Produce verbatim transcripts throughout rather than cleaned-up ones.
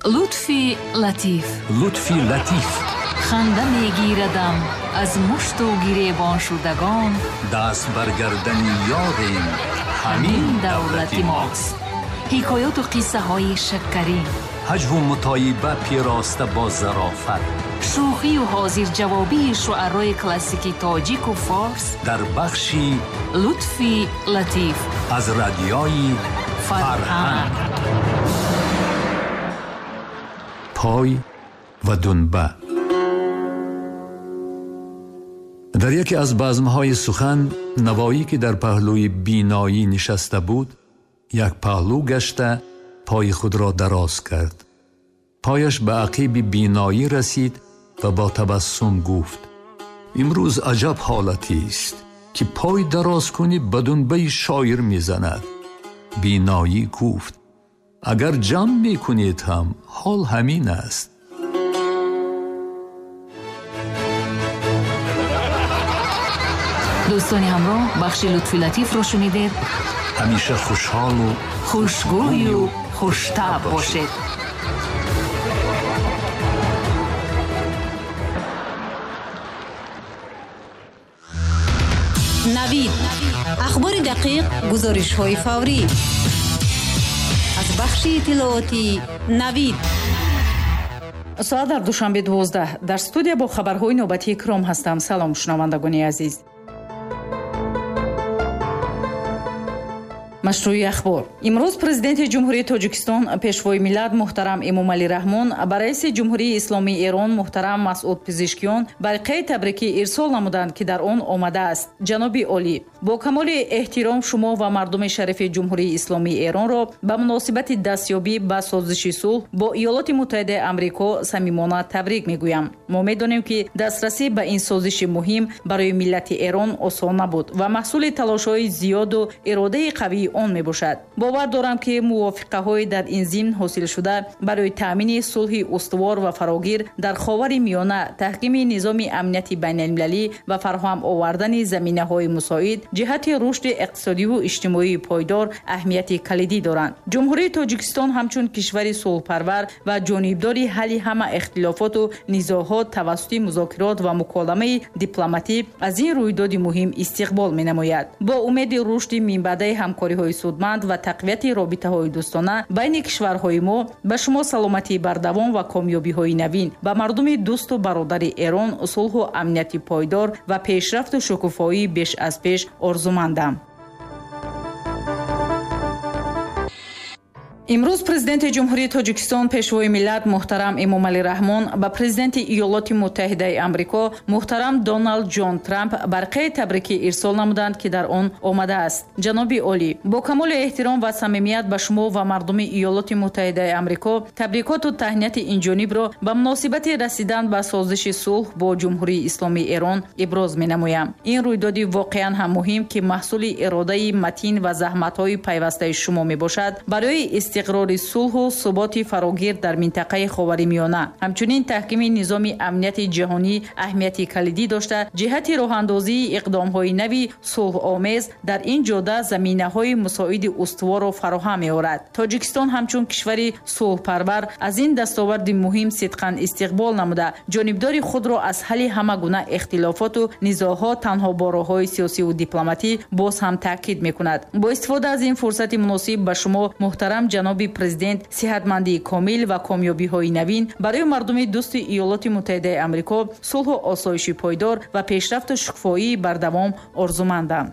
Лутфи Латиф. Лутфи Латиф. Ханда мегирадам аз мушту гиребон шудагон. Даст бар гардани ёрем, ҳамин давлати мост. Ҳикояту қиссаҳои шаккарин. Ҳаҷву мутоиба пироста бо зарофат. Шӯхию ҳозирҷавобии шуарои классики тоҷику форс дар бахши Лутфи Латиф аз радиои Фарҳанг. Пой ва дунба. Дар яке аз базмҳои сухан Навоӣ, ки дар паҳлӯи биноӣ нишаста буд, як паҳлӯ гашта пои худро дароз кард. Пояш ба ақиби биноӣ расид ва бо табассум гуфт: имрӯз аҷаб ҳолатист, ки пой дароз кунӣ ба дунбаи шоир мезанад. Биноӣ гуфт: агар ҷамъ мекунед ҳам ҳол ҳамин аст. Дӯстони ҳамроҳ, бахши Лутфи Латифро шунидед. Ҳамеша хушҳолу хушгӯю хуштаб бошед. Навид. Ахбори дақиқ, гузоришҳои фаврӣ. Аз бахши иттилоотии Навид. Соат дар Душанбе дувоздаҳ. Дар студия бо хабарҳои навбатии Икром ҳастам. Салом, шунавандагони азиз. Машрӯи ахбор. Имрӯз президенти Ҷумҳурии Тоҷикистон, пешвои миллат муҳтарам Эмомалӣ Раҳмон ба раиси Ҷумҳурии Исломии Эрон муҳтарам Масъуд Пизишкиён барқияи табрикӣ ирсол намуданд, ки дар он омадааст: ҷаноби олӣ, бо камоли эҳтиром шумо ва мардуми шарифи Ҷумҳурии Исломии Эронро ба муносибати дастёбӣ ба созиши сулҳ бо Иёлоти Муттаҳидаи Амрико самимона табрик мегӯям. Мо медонем, ки дастрасӣ ба ин созиши муҳим барои миллати Эрон осон набуд ва маҳсули талошҳои зиёду иродаи қавии он мебошад. Бовар дорам, ки мувофиқаҳои дар ин зимн ҳосилшуда барои таъмини сулҳи устувор ва фарогир дар Ховари Миёна, таҳкими низоми амнияти байналмилалӣ ва фароҳам овардани заминаҳои мусоид ҷиҳати рушди иқтисодиву иҷтимоии пойдор аҳамияти калидӣ доранд. Ҷумҳурии Тоҷикистон ҳамчун кишвари сулҳпарвар ва ҷонибдори ҳалли ҳама ихтилофоту низоъҳо тавассути музокирот ва муколамаи дипломатӣ аз ин рӯйдоди муҳим истиқбол менамояд. Бо умеди рушди минбаъдаи ҳамкориҳои судманд ва тақвияти робитаҳои дӯстона байни кишварҳои мо ба шумо саломатии бардавом ва комёбиҳои навин, ба мардуми дӯсту бародари Эрон сулҳу амнияти пойдор ва пешрафту шукуфоии беш аз пеш орзумандам. Имрӯз президенти Ҷумҳурии Тоҷикистон, пешвои миллат муҳтарам Эмомалӣ Раҳмон ба президенти Иёлоти Муттаҳидаи Амрико муҳтарам Доналд Ҷон Трамп барқияи табрикӣ ирсол намуданд, ки дар он омадааст: ҷаноби олӣ, бо камоли эҳтиром ва самимият ба шумо ва мардуми Иёлоти Муттаҳидаи Амрико табрикоту таҳнияти инҷонибро ба муносибати расидан ба созиши сулҳ бо Ҷумҳурии Исломии Эрон иброз менамоям. Ин рӯйдоди воқеан ҳам муҳим, ки маҳсули иродаи матин ва заҳматҳои пайвастаи шумо мебошад, барои истиқрори сулҳу суботи фарогир дар минтақаи Ховари Миёна, ҳамчунин таҳкими низоми амнияти ҷаҳонӣ аҳамияти калидӣ дошта, ҷиҳати роҳандозии иқдомҳои нави сулҳомез дар ин ҷода заминаҳои мусоиди устуворро фароҳам меорад. Тоҷикистон ҳамчун кишвари сулҳпарвар аз ин дастоварди муҳим сидқан истиқбол намуда, ҷонибдори худро аз ҳалли ҳама гуна ихтилофоту низоъҳо танҳо бо роҳҳои сиёсиву дипломатӣ боз ҳам таъкид мекунад. Бо истифода аз ин фурсати муносиб ба шумо, муҳтарам ҷаноби президент, сиҳатмандии комил ва комёбиҳои навин барои мардуми дӯсти Иёлоти Муттаҳидаи Амрико, сулҳу осоиши пойдор ва пешрафту шукуфоии бардавом орзумандам.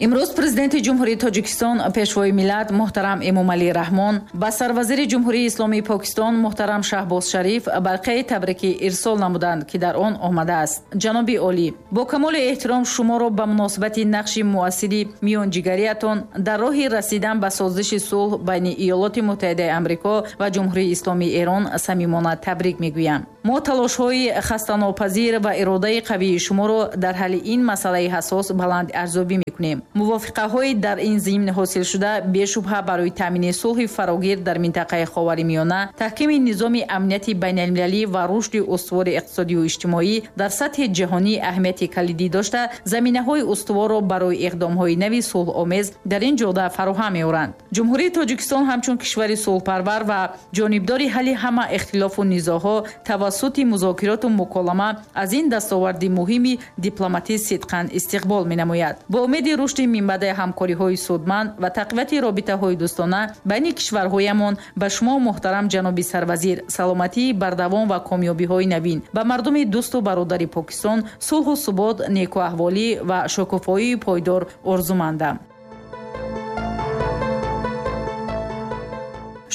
Имрӯз президенти Ҷумҳурии Тоҷикистон, пешвои миллат муҳтарам Эмомалӣ Раҳмон ба сарвазири Ҷумҳурии Исломии Покистон муҳтарам Шаҳбоз Шариф барқияи табрикӣ ирсол намуданд, ки дар он омадааст: ҷаноби олӣ, бо камоли эҳтиром шуморо ба муносибати нақши муассири миёнҷигариятон дар роҳи расидан ба созиши сулҳ байни Иёлоти Муттаҳидаи Амрико ва Ҷумҳурии Исломии Эрон самимона табрик мегӯям. Мо талошҳои хастанопазир ва иродаи қавии шуморо дар ҳалли ин масъалаи ҳассос баланд арзёбӣ мекунем. Мувофиқаҳои дар ин зимн ҳосилшуда бешубҳа барои таъмини сулҳи фарогир дар минтақаи Ховари Миёна, таҳкими низоми амнияти байналмилалӣ ва рушди устувори иқтисодию иҷтимоӣ дар сатҳи ҷаҳонӣ аҳамияти калидӣ дошта, заминаҳои устуворро барои иқдомҳои нави сулҳомез дар ин ҷода фароҳам меоранд. Ҷумҳурии Тоҷикистон ҳамчун кишвари сулҳпарвар ва ҷонибдори ҳалли ҳама ихтилофу низоъҳо тавассути музокироту муколама аз ин дастоварди муҳими дипломатӣ сидқан истиқбол менамояд. Бо умеди рушди минбаъдаи ҳамкориҳои судманд ва тақвияти робитаҳои дӯстона байни кишварҳоямон ба шумо, муҳтарам ҷаноби сарвазир, саломатии бардавом ва комёбиҳои навин, ба мардуми дӯсту бародари Покистон сулҳу субот, некуаҳволӣ ва шукуфоии пойдор орзумандам.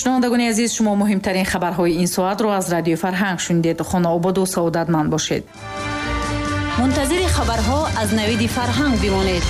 Шунавандагони азиз, шумо муҳимтарин хабарҳои ин соатро аз Радиои Фарҳанг шунидед. Хонаободу саодатманд бошед. Мунтазири хабарҳо аз Навиди Фарҳанг бимонед.